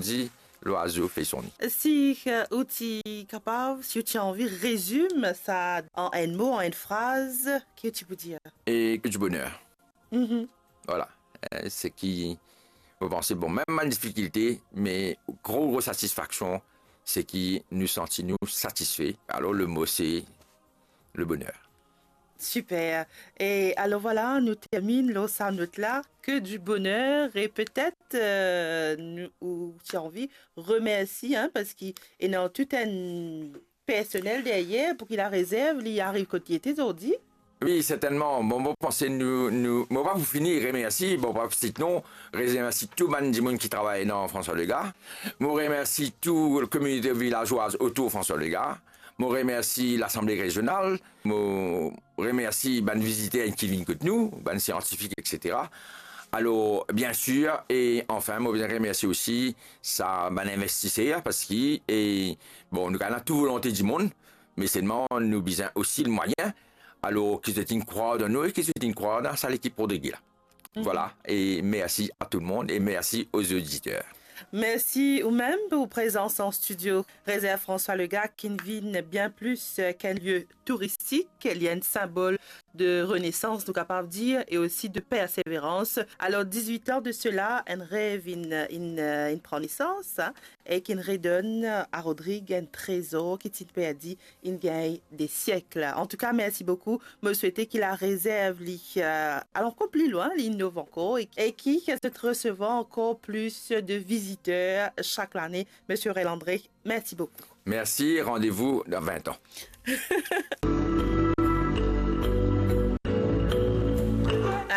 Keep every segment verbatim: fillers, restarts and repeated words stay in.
di, lwazo fer son ni. Si, euh, ou ti kapav, si ou ti anvi rezim sa an enn mo, an enn fraz, ki ou ti pou dir? Et que du bonheur. Mhm. Voilà. Euh, seki, mo panse, bon, mem bann difikilte, me gro, gro satisfaksion, seki nou santi nou satisfe. Alor, le mo, se le bonheur. Super. E alor, vwala, nou terminn lor sa not la, que du bonheur, e petet, euh, nou, ou ti anvi remersi, hein, parski ena tou enn personel deryer pou ki La Rezerv, li ariv kot li ete zordi. Wi, sertennman. Bon, mo panse nou, nou, mo pa pou fini remersi, bon, pa sitet non, remersi tou bann dimoun ki travay dan François Legaye. Mo remersi tou kominote vilazwaz otour François Legaye. Mo remersi Lasanble Rezional. Mo remersi bann viziter ki vinn kot nou, bann siantifik, et cetera. Alor, bien sir, e anfin, mo bizin remersi osi sa bann investiser, parski, e, bon, nou gagn tou volonte dimoun, me selman nou bizin osi le mwayin. Alor, ki zot inn krwar dan nou e ki zot inn krwar dan sa lekip Rodrigue la. Mhm. Vwala, e mersi a tou le mond e mersi aux auditeurs. Mersi ou mem pou prezans an studio. Rezerv François Legaye ki vinn bien plis, euh, ki enn lie touristik, li enn sinbol de renesans, nou kapav dir, e osi de perseverans. Alor, dizwit an de sela, enn rev inn, inn, inn pran nesans, hein, e ki inn redonn a Rodrigue enn trezor ki ti perdi, inn gagn de siek. Antouka, mersi boukou. Mo swete ki La Rezerv, li, euh, al ankor pli lwin, li inov ankor, e, e ki, ki zot resevwar ankor plis de viziter sak lane. Misie Aurel André, mersi boukou. Mersi, randevou dan vin an.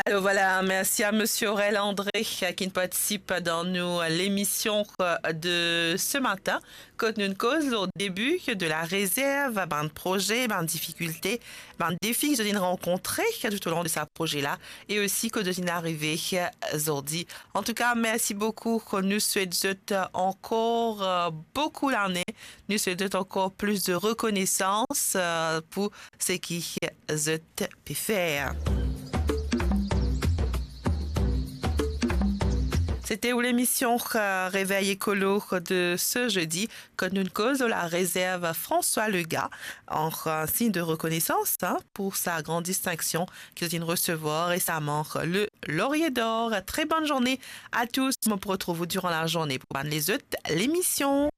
Alor, vwala, mersi a Misie Aurel André, euh, ki partisip dan nou, euh, lemision, euh, de se matin, kot nou koz lor debi de La Rezerv, bann proze, bann difikilte, bann defi ki zot inn rankontre toutolong de sa proze la, e osi kot zot inn arive, euh, zordi. Antouka, mersi boukou. Nou swet zot ankor, euh, boukou lane. Nou swet zot ankor plis de rekonesans, euh, pou seki zot pe fer. Sete ou lemision, euh, Réveil Écolo de se zedi, kot nou koz La Rezerv François Legaye, an, euh, sign de rekonesans, hein, pou sa gran distinksion ki zot inn resevwar resaman, le Laurier d'Or. Très bonne journée à tous. Mo pou retrouv ou diran lazorne pou bann lezot lemision.